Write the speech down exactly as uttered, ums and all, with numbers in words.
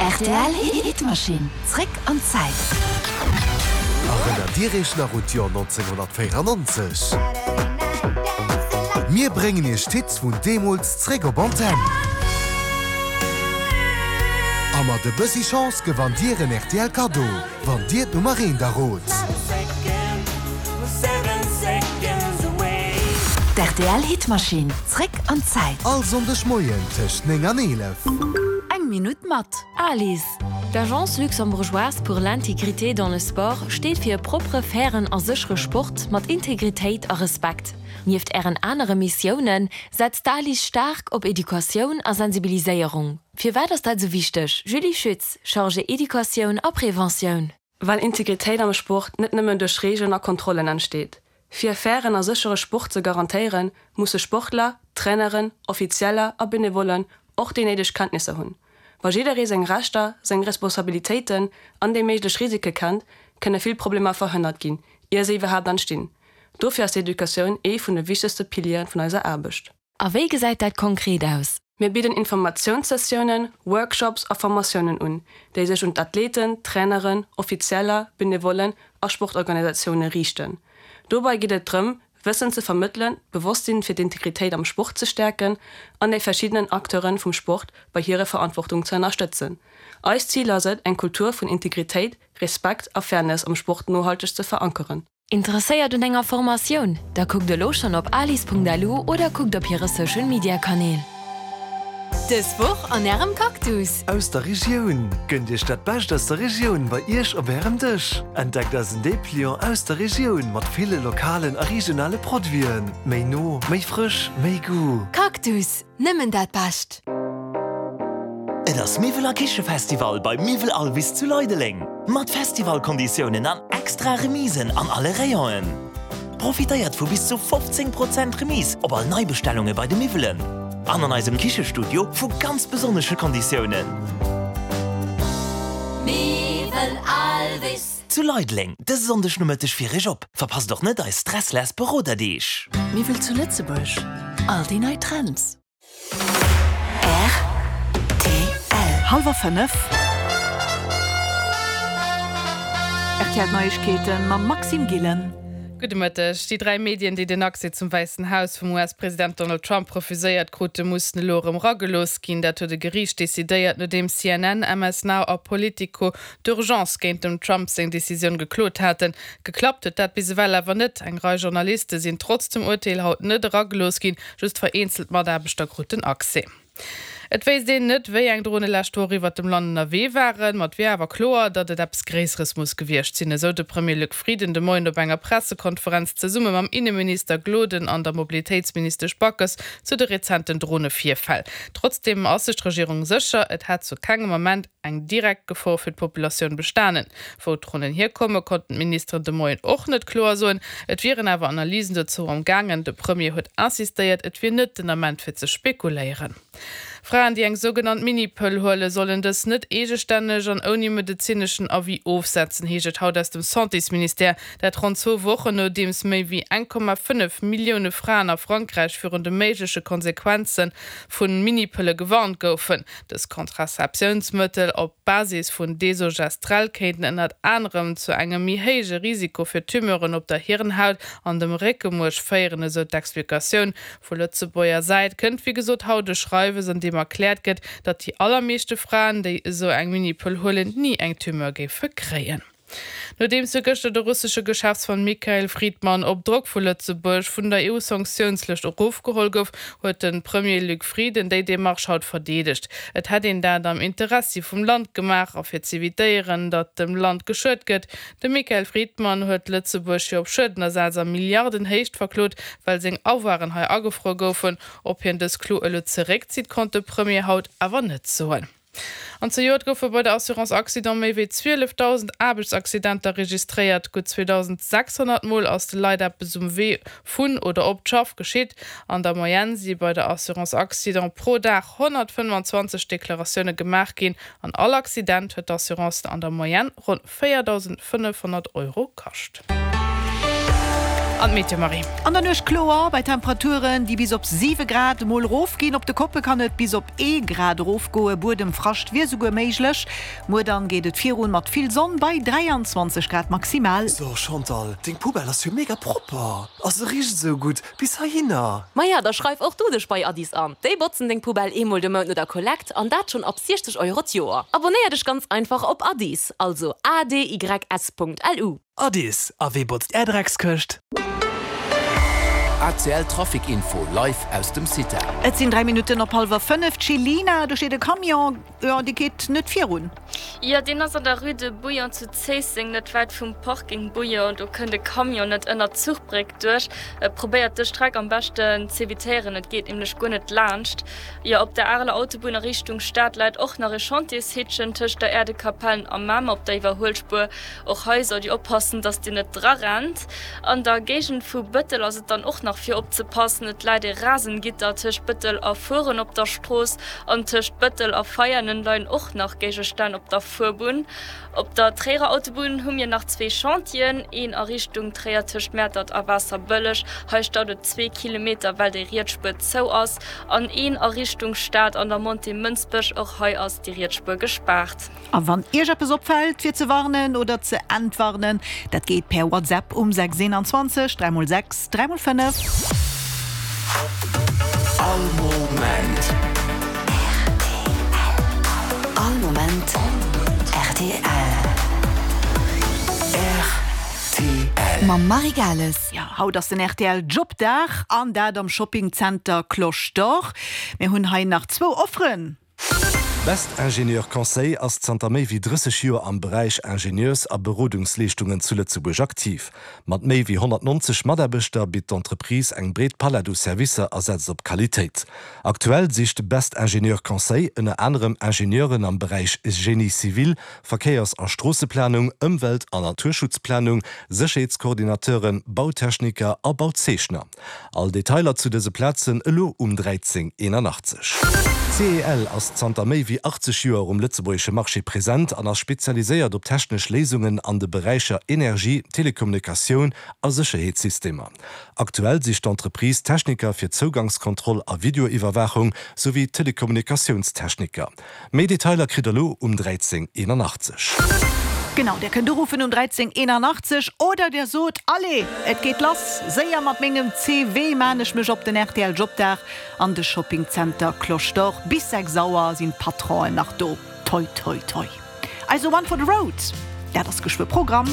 Rtl Hitmaschinn, zréck an d'Zäit. Erënnert Dir Iech nach un d'Joer nonzénghonnertvéierannonzeg? Mir bréngen Iech d'Hits vun deemools zréck op Antenn. A mat e bëssi Chance gewannt Dir en R T L Kaddo, wann Dir d'Nummer eent errot. D' R T L Hitmaschinn, zréck an d'Zäit. All Sonndeg Moien tëscht néng an eelef. Eng Minutt mat ALIS. D'Agence luxembourgeoise pour l'intégrité dans le sport steet fir e proppere, fairen a séchere Sport mat Integritéit a Respekt. Nieft hiren anere Missiounen setzt d'ALIS staark op Educatioun a Sensibiliséierung. Firwat ass dat sou wichteg? Julie Schütz, Chargée Educatioun a Preventioun. Well Integritéit am Sport net nëmmen duerch Reegelen a Kontrollen entsteet. Fir e fairen a séchere Sport ze garantéieren, musse Sportler, Traineren, Offizieller a Benevollen och déi néideg Kenntnisser hunn. Wa jidderee seng Rechter, seng Responsabilitéiten an déi méiglech Risike kennt, kënne vill Problemer verhënnert ginn, ier se iwwerhaapt entstinn. Dofir ass d'Educatioun ee vun de wichtegste Piliere vun eiser Aarbecht. A wéi gesäit dat konkret aus? Mir bidden Informatiounssessiounen, Workshops a Formatiounen un, déi sech un d'Athleten, Traineren, Offizieller, Benevollen a Sportorganisatioune riichten. Dobäi geet et drëm, Wëssen ze vermëttelen, d'Bewosstsinn fir d'Integritéit am Sport ze stäerken an déi verschiddenen Acteure vum Sport bei hirer Verantwortung ze ënnerstëtzen. Eist Zil ass et, eng Kultur vun Integritéit, Respekt a Fairness am Sport nohalteg ze verankeren. Interesséiert un enger Formatioun? Da kuckt elo schonn op alis Punkt L U oder kuckt op hire Social Media Kanäl. Dës Woch an ärem Cactus. Aus der Regioun. Gënnt Iech dat Bescht aus der Regioun bei Iech op ärem Dësch. Entdeckt eisen Depliant aus der Regioun mat ville lokalen a regionale Produiten. Méi no, méi frësch, méi Goût. Cactus, nëmmen dat Bescht. Et ass Miwwel a Kichefestival bei Miwwel Alvis zu Leideleng. Mat Festivalkonditiounen an extra Remisen an alle Rayonen. Profitéiert vu bis zu fofzéng Prozent Remise op all Neibestellunge bei de Miwwelen. An an eisem Kichestudio vu ganz besonnesche Konditiounen. Miwwel Alvis. Zu Leideleng, dëse Sonndeg Nomëtteg fir Iech op. Verpasst och net eis stressless Beroderdeeg. Miwwel zu Lëtzebuerg. All déi nei Trends. R T L. Hallwer fënnef. R T L Neiegkeeten mam Maxime Gillen. Gudde Mëtteg. Déi dräi Medien, déi den Accès zum Wäissen Haus vum U S-President Donald Trump refuséiert krute, mussen elo erëm eragelooss ginn. Dat huet e Geriicht decidéiert, nodeem C N N, M S Now a Politico d'urgence géint dem Trump seng Decisioun geklot haten. Geklappt huet dat bis ewell awer net. Eng Rei Journaliste sinn trotz dem Urteel haut net eragelooss ginn, just vereenzelt Mataarbechter kruten Accès. Et weess een net, wéi eng Drone lescht Woch iwwer dem Land ënnerwee waren, ma et wier awer kloer, datt et eppes Gréisseres muss gewiescht sinn, esou de Premier Luc Frieden de Moien op enger Pressekonferenz zesumme mam Inneminister Gloden an der Mobilitéitsministesch Backes zu de rezenten Dronevirfäll. Trotzdeem ass sech d'Regierung sécher, et hätt zu kengem Ament eng direkt Gefor fir d'Populatioun bestanen. Wou d'Dronen hierkommen, konnten d'Ministeren de Moien och net kloer soen. Et wieren awer Analysen dozou am gaangen. De Premier huet insistéiert, et wier net den Ament fir ze spekuléieren. Fraen, déi eng sougenannt Minipëll huelen, sollen dës net eegestänneg an ouni medezineschen Avis ofsetzen, heescht et haut aus dem Santésministère. Dat ronn zwou Wochen nodeems méi wéi eng Komma fënnef Millioune Fraen a Frankräich virun de méigleche Konsequenze vu Minipëlle gewarnt goufen. Dës Kontrazeptiounsmëttel op Basis vun Desogestrel kéinten ënnert anerem zu engem méi héije Risiko fir Tumeuren op der Hirnhaut an dem Réckemuerch féieren, esou d'Explikatioun. Vu Lëtzebuerger Säit kënnt wéi gesot haut e Schreiwes, an deem erkläert gëtt, datt déi allermeeschte Fraen, déi esou eng Minipëll huelen, ni eng Tumeur géife kréien. Nodeems jo gëschter de russesche Geschäftsmann Mikhail Fridman op Drock vu Lëtzebuerg vun der E U-Sanktiounslëscht erofgeholl gouf, huet de Premier Luc Frieden déi Demarche haut verdeedegt. Et hätt een dat am Interessi vum Land gemaach a fir z'evitéieren, datt dem Land geschuet gëtt. De Mikhail Fridman huet Lëtzebuerg jo op Schuedenersaz a Milliardenhéicht verklot, well seng Avoiren hei agefruer goufen. Ob hien dës Klo elo zeréckzitt, konnt de Premier haut awer net soen. An zejoert goufe bei der Assurance Accident méi wéi zwielefdausend Aarbechtsaccidenter registréiert. Gutt zweedausendsechshonnert Mol ass de Leit eppes um Wee vun oder op d'Schaff geschitt. An der Moyenne si bei der Assurance Accident pro Dag honnertfënnfanzwanzeg Deklaratioune gemaach ginn. An all Accident huet d'Assurance an der Moyenne ronn véierdausendfënnefhonnert Euro kascht. An d'Meteo, Marie? An der Nuecht kloer, bei Temperaturen, déi bis op siwe Grad emol erofginn. Op de Koppe kann et bis op ee Grad erofgoen, Buedemfrascht wier souguer méiglech. Muer dann geet et virun mat vill Sonn bei dräianzwanzeg Grad maximal. So Chantal, deng Poubelle ass jo mega propper a se richt esou gutt bis heihinner. Maja, da schreif och du dech bei Addis an. Déi botzen deng Poubelle eemol de Mount no der Kollekt an dat schonn ab siechzeg Euro d'Joer. Abonéier dech ganz einfach op Addis, also A D Y S Punkt L U. Addis, a wee botzt är Dreckskëscht? A C L Trafic Info live aus dem Cita. Et sinn dräi Minutten op hallwer fënnef. D'Chelina, do steet e Camion, jo, dee geet net virun. Jo, deen ass an der Rue de Bouillon zu Zéisseng, net wäit vum Parking Bouillon. Do kënnt e Camion net ënnert d'Zuchbréck duerch. Probéiert dës Streck am beschten z'evitéieren, et geet nämlech guer net laanscht. Jo, op der Areler Autobunn a Richtung Stad läit och nach e Chantiershitchen tëscht der Äerdekapellen a Mamer op der Iwwerhuelspuer. Och hei sollt Dir oppassen, dass Dir net drarennt. An der Géigend vu Bëttel ass et dann och nach fir opzepassen, Et läit e Rasengitter tëscht Bëttel a Furen op der Strooss an tëscht Bëttel a Veianen leien och nach Géigestänn op der Fuerbunn. Op der Tréierer Autobunn hu mir nach zwee Chantieren, een a Richtung Tréier tëscht Mäertert a Waasserbëlleg, hei staut et zwee Kilometer well déi riets Spuer zou ass, an een a Richtung Stad an der Montée Mënsbech, och hei ass déi riets Spuer gespaart. A wann Iech eppes opfält, fir ze warnen oder ze entwarnen, dat geet per WhatsApp um sechs eenanzwanzeg dräi mol sechs dräi mol fënnef. All Moment R T L. All Moment R T L. R T L. Mam Marie Gales. Jo, haut ass den R T L Jobdag an dat am Shoppingzenter Cloche d'Or. Mir hunn hei nach zwou Offeren. Best Ingénieur Conseil ass zanter méi wéi drësseg Joer am Beräich Ingenieurs a Berodungsleeschtungen zu Lëtzebuerg aktiv. Mat méi wéi honnertnonzeg Mataarbechter bitt d'Entreprise eng breet Palett u Servicer a setzt op Qualitéit. Aktuell sicht Best Ingénieur Conseil ënner anerem Ingenieuren am Beräich Génie civil, Verkéiers a Stroosseplanung, Ëmwelt an Naturschutzplanung, Sécherheetskoordinateuren, Bautechniker a Bauzeechner. All Detailer zu dëse Plazen elo um dräizéng eenanachtzeg. C E L ass zanter méi wéi achtzeg Joer um lëtzebuergesche Marché present an ass spezialiséiert op technesch Léisungen an de Beräicher Energie, Telekommunikatioun a Sécherheetssystemer. Aktuell sicht d'Entreprise Techniker fir Zougangskontroll a Videoiwwerwaachung souwéi Telekommunikatiounstechniker. Méi Detailer kritt der elo um dräizéng eenanachtzeg. Genau, der kënnt uruffen um dräizéng eenanachtzeg oder der sot, Allez, et geet lass, séier mat mengem C V maan ech mech op den R T L Jobdag an de Shoppingzenter Cloche d'Or. Bis sechs Auer sinn d'Patronen nach do. Toi, toi, toi. Also One for the Road, dat ass geschwë Programm.